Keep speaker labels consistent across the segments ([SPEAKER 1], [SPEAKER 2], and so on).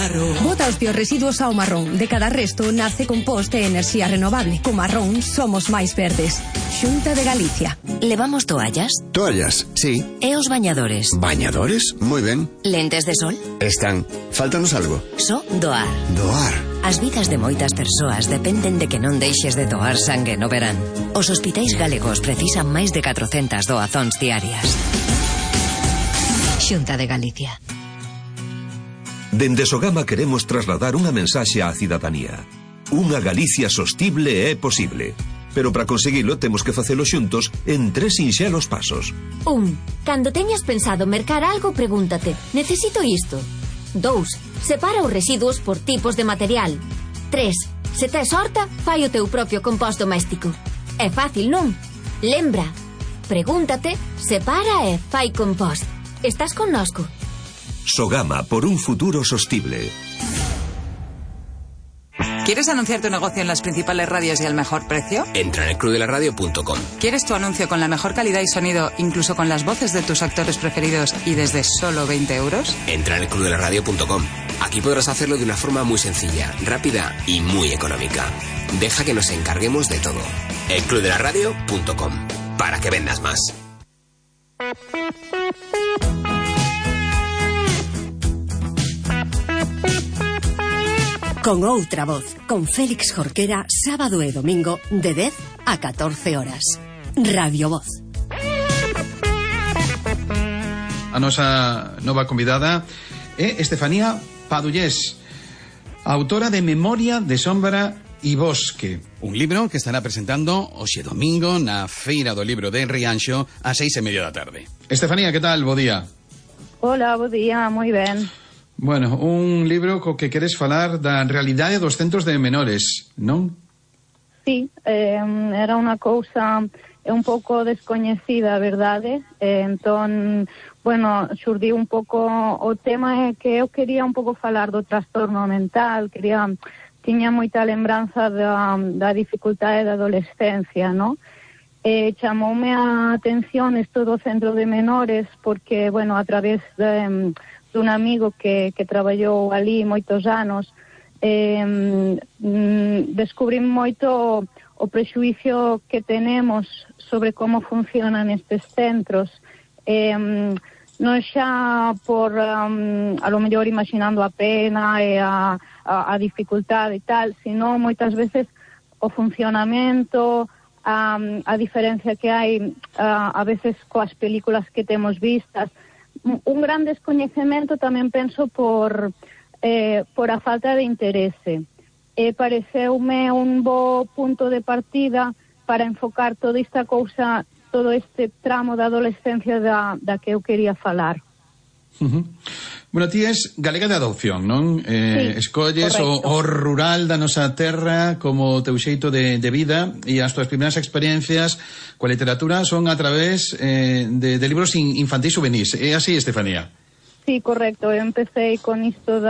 [SPEAKER 1] Marrón.
[SPEAKER 2] Bota os teus residuos ao marrón. De cada resto nace compost e enerxía renovable. Co marrón somos máis verdes. Xunta de Galicia.
[SPEAKER 3] Levamos toallas?
[SPEAKER 4] Toallas, sí.
[SPEAKER 3] E os bañadores?
[SPEAKER 4] ¿Bañadores? Muy ben.
[SPEAKER 3] Lentes de sol?
[SPEAKER 4] Están. Fáltanos algo.
[SPEAKER 3] Só doar.
[SPEAKER 4] Doar.
[SPEAKER 3] As vidas de moitas persoas dependen de que non deixes de doar sangue no verán. Os hospitais galegos precisan máis de 400 doazóns diarias. Xunta de Galicia.
[SPEAKER 5] Dende Sogama queremos trasladar unha mensaxe á cidadanía. Unha Galicia sostible é posible. Pero para conseguilo temos que facelo xuntos en 3 sinxelos pasos.
[SPEAKER 6] 1. Cando teñas pensado mercar algo, pregúntate: necesito isto? 2. Separa os residuos por tipos de material. 3. Se tes horta, fai o teu propio compost doméstico. É fácil, non? Lembra, pregúntate, separa e fai compost. Estás connosco.
[SPEAKER 5] Sogama, por un futuro sostible.
[SPEAKER 7] ¿Quieres anunciar tu negocio en las principales radios y al mejor precio?
[SPEAKER 8] Entra en elclubdelaradio.com.
[SPEAKER 7] ¿Quieres tu anuncio con la mejor calidad y sonido, incluso con las voces de tus actores preferidos y desde solo 20 euros?
[SPEAKER 8] Entra en elclubdelaradio.com. Aquí podrás hacerlo de una forma muy sencilla, rápida y muy económica. Deja que nos encarguemos de todo. elclubdelaradio.com. Para que vendas más.
[SPEAKER 9] Con outra voz, con Félix Jorquera, sábado e domingo de 10 a 14 horas. Radio Voz.
[SPEAKER 10] A nosa nova convidada é Estefanía Padullés, autora de Memoria de Sombra e Bosque, un libro que estará presentando hoxe domingo na Feira do Libro de Rianxo a 6:30 da tarde. Estefanía, que tal? Bo día.
[SPEAKER 11] Hola, bo día, moi ben.
[SPEAKER 10] Bueno, un libro co que queres falar da realidade dos centros de menores, non?
[SPEAKER 11] Sí, era unha cousa un pouco descoñecida, a verdade. Entón, bueno, xurdiu un pouco o tema que eu quería un pouco falar do trastorno mental, tiña moita lembranza da dificultade da adolescencia, non? Chamoume a atención isto do centro de menores porque, bueno, a través dun amigo que traballou ali moitos anos, descubrí moito o prexuicio que tenemos sobre como funcionan estes centros, non xa por a lo mellor imaginando a pena e a dificultade e tal, sino moitas veces o funcionamento, a diferencia que hai a veces coas películas que temos vistas. Un gran descoñecemento tamén penso por a falta de interese. Pareceume un bo punto de partida para enfocar toda esta cousa, todo este tramo da adolescencia da que eu quería falar.
[SPEAKER 10] Bueno, ti és galega de adopción, non?
[SPEAKER 11] Sí,
[SPEAKER 10] escolles o rural da nosa terra como teu xeito de vida, e as tuas primeiras experiencias coa literatura son a través de libros infantis juvenis. É así, Estefanía?
[SPEAKER 11] Sí, correcto. Eu empecé con isto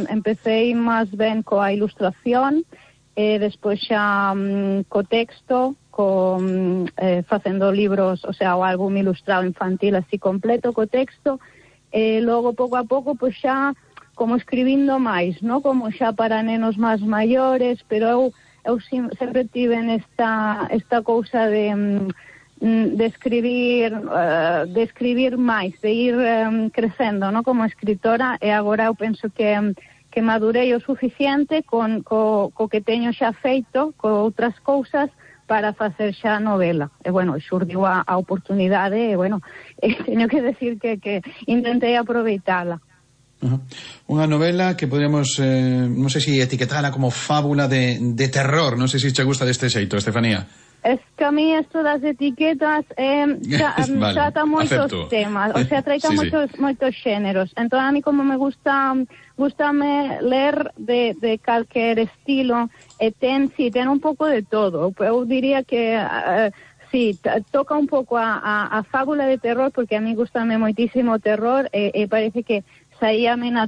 [SPEAKER 11] empecé máis ben coa ilustración, despois xa co texto, facendo libros, o sea, o álbum ilustrado infantil así completo co texto. Logo, pouco a pouco, pois xa como escribindo máis, non? Como xa para nenos máis maiores, pero eu sempre tive esta cousa de escribir máis, de ir crecendo, non? Como escritora, e agora eu penso que madurei o suficiente co que teño xa feito, co outras cousas, para facer xa novela. E, bueno, xurdiu a oportunidade e, bueno, teño que decir que intentei aproveitala.
[SPEAKER 10] Unha novela que podríamos, non sei se etiquetala como fábula de terror. Non sei se che gusta deste xeito, Estefanía.
[SPEAKER 11] Es que a mí esto das etiquetas trata moitos temas, o sea, trata moitos xéneros. Entón, a mí como me gustame ler de calquer estilo, e ten un pouco de todo. Eu diría que sí, toca un pouco a fábula de terror, porque a mí gustame moitísimo o terror, e parece que saíame